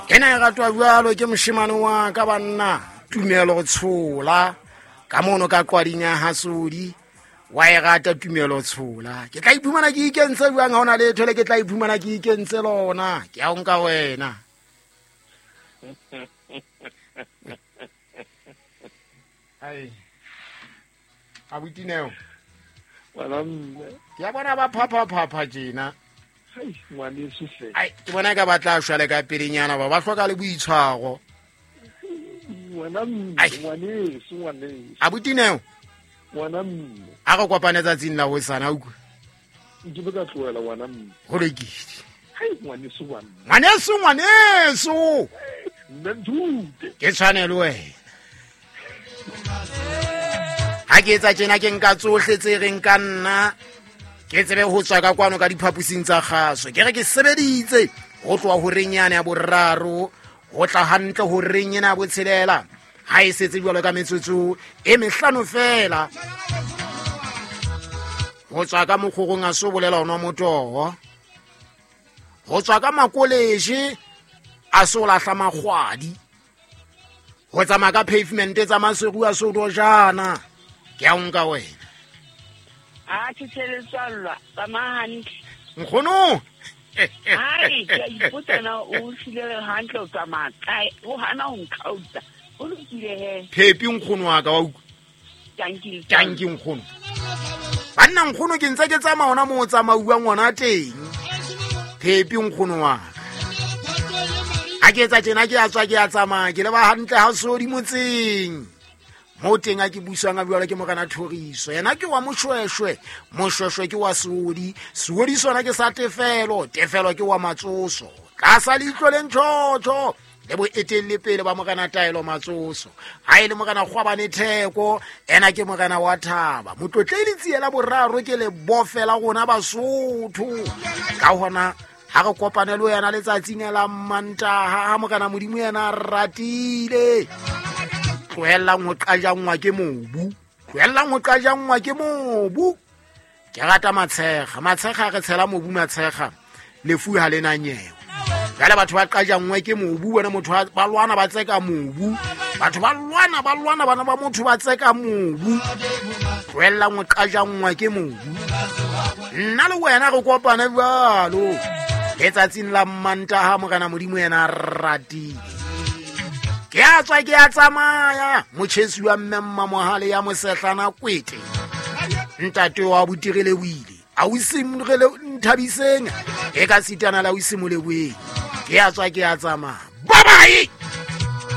Ena e ratwa jwalo ke moshemane wa ka banna Tumelo Tshola ka mono ka qwading ya Hasodi. Wa e rata Tumelo Tshola. Ke tla iphumana ke ikentse jwang ha ona letho le ke tla iphumana ke ikentse lona. Ke a o nka wena. Ai. Abuti Neo. Ngwana mme. Ke a bona ba phapha-phapha tjena. Hai, ngwaneso hle. Ai, ke bona ka ba tla shwa le ka pelenyana ba ba hloka le boitshwaro. Ngwana mme, Ai. ngwaneso, ngwaneso. Abuti Neo. Ngwana mme. A re kopane tsatsing la hosane, a utlwa. Nke be ka tlohela ngwana mme. Ho lokile. Hai, ngwaneso wa mme. Ngwaneso, ngwaneso. Mme nthute. Ke tshwanelo wena. Ha ke etsa tjena ke nka tsohle tse reng ka nna ke tsebe ho tswa ka kwano ka diphaposing tsa kgaso. Ke re ke sebeditse ho tloha horeng yane ya boraro ho tla hantle horeng ena ya botshelela. Ha e setse jwalo ka metsotso e mehlano fela. Ho tswa ka mokgorong a so bolela ho nwa motoho. Ho tswa ka makoleje a so lahla makgwadi. Ho tsamaya ka pavement tsa Maseru a so dojana. Ke a o nka wena. A tshetsheletswallwa, tsamaya hantle. Nkgono. Hai, ke a ipotsa na o hlile hantle o tsamaya kae, o hana ho nkgautsa. Ho lokile he. Phepi nkgono wa ka wa utlwa. Tanki. Tanki nkgono. Banna nkgono ke ntse ke tsamaya hona moo o tsamauwang hona teng. Phepi nkgono wa ka. Ha ke etsa tjena ke a tswa ke a tsamaya ke leba hantle ha Sodi motseng. Mo teng a ke buswang a jwalo ke Morena Thoriso. Yena ke wa Moshweshwe, Moshweshwe ke wa Sodi, Sodi sona ke sa Tefelo, Tefelo ke wa Matsoso. Tlasa leihlo le ntjhotjho le boetelle pele ba Morena Taelo Matsoso. Ha e le Morena Kgwabane Theko, ena ke Morena wa Thaba. Motlotledi Tsiela boraro ke le bofela rona Basotho. Ka hona ha re kopane le wena letsatsing la Mantaha, ha Morena Modimo yena a ratile. Tlohellang ho qajangwa ke mobu. Tlohellang ho qajangwa ke mobu. Ke rata matshekga. Matshekga re tshela mobu matshekga. Lefu ha le na nyewe. Jwale batho ba qajangwe ke mobu, bona motho ba lwana ba tseka mobu. Batho ba lwana, ba lwana, bana ba motho ba tseka mobu. Tlohellang ho qajangwa ke mobu. Nna le wena re kopane jwalo. Letsatsing la Mantaha Morena Modimo yena a ratile. Ke a tswa ke a tsamaya. Motjhesi wa mme Mmamohale ya mosehlana kwete. Ntate wa Botirele o ile. A o simolele Nthabiseng. E ka sitana la o simoleboeng. Ke a tswa ke a tsamaya. Bye bye.